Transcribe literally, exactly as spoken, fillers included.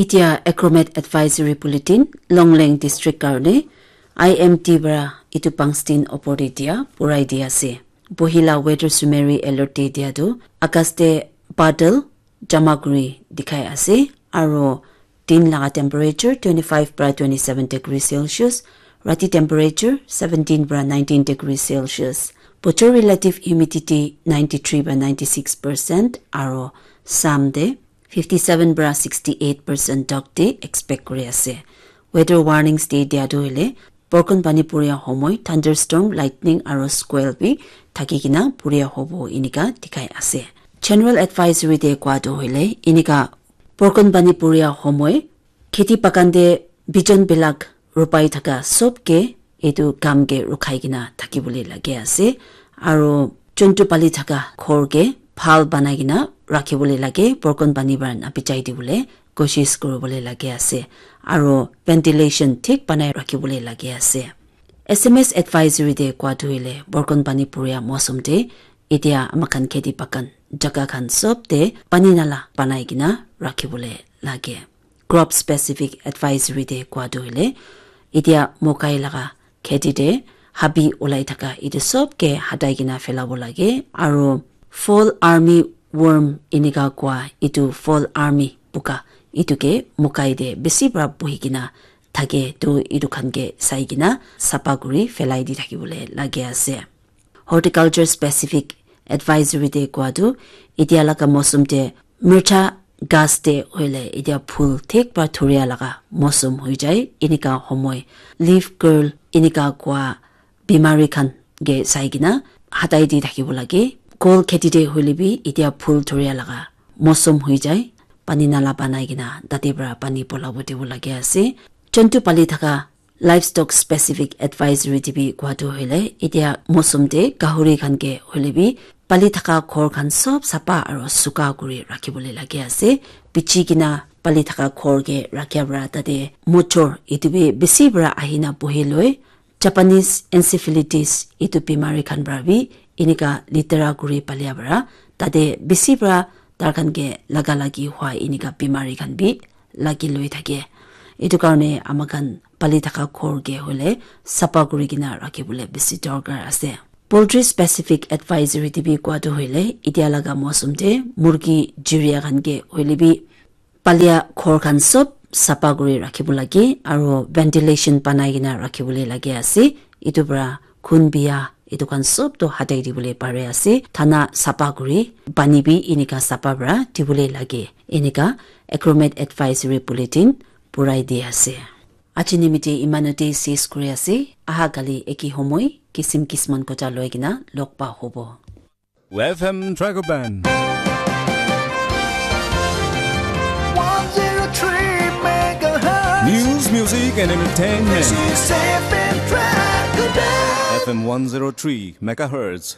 Itia Acromet Advisory Bulletin, Longleng District karne I M D para itu pangstin opor te dia purai di ase. Bohila weather summary alert te dia tu August te badal jama kuri dikhai ase, aro din laga temperature twenty-five para twenty-seven degree Celsius, rati temperature seventeen para nineteen degree Celsius. Bochor relative humidity ninety-three para ninety-six percent, aro sam te fifty-seven para sixty-eight percent dog day expect kuri ase. Weather warnings te dia tu hoile borkon pani puria homoi thunderstorm, lightning aro squall bi thaki kena puria hobo inika dikhai ase. General advisory te koa tu hoile inika borkon pani puria homoi kheti bagan te bijon bilak rupai thaka sob ke etu kam ke rukhai kena thakibole lage ase, aro juntu pali thaka ghor ke bhal banai kena rakhibole lage, borkon pani para nabichai dibole koshish kuribole lage ase, aro ventilation thik banai rakhibole lage ase. S M S advisory te koa tu hoile borkon pani puria mosum te itia amakhan kheti bagan jaga khan sob te pani nala banai kena rakhibole lage. Crop specific advisory te koa tu hoile itia mokai laga kheti te habi ulai thaka itu sob ke hatai kena phelabo lage, aro fall army worm inika koa itu fall army buka itu ke mokai te bisi para buhi kena thake tu itu khan ke sai kena sapa kuri phelai di thakibole lage ase. Horticulture specific advisory te koa tu itia laga mosum te mircha gas te hoile itia phul thik para thuria laga mosum hoi jai, inika homoi leaf curl inika koa bimari khan ke sai kena hatai di thakibo lage. Kol kheti te hoile bi itia phul thuria laga mosum hoi jai, pani nala banai kena tate para pani polabo dibo lage ase. Juntu pali thaka livestock specific advisory te bi koa tu hoile itia mosum te gahuri khan ke hoile bi pali thaka ghor khan sob sapa aro suka kuri rakhibole lage ase. Bichi kena pali thaka ghor ke rakhia para tate mochor itu bi bisi para ahina buhi loi. Japanese encephalitis itu bimari khan para bi inika litera kuri palia para tate bisi para tar khan ke laga lagi hua inika bimari khan bi lagi loi thake. Itu karne amakhan pali thaka ghor ke hoile sapa kuri kena rakhibole bisi dorkar ase. Poultry specific advisory te bi koa tu hoile itia laga mosum te murgi jiria khan ke hoile bi palia ghor khan sob sapa kuri rakhibo lage aro ventilation banai kena rakhibole lage ase. Itu para khun bia itu khan sob to hatai dibole pare ase. Thana sapa kuri pani bi inika sapa para dibole lage. Inika Acromet Advisory Bulletin purai di ase. Aji nimite imanote ses kuri ase. Aha kali eki homoi kisim kisman kota loi kena log pa hobo. F M Tragoban. One zero three megahertz. News, music, and entertainment. This is F M Tragoban. F M one zero three megahertz.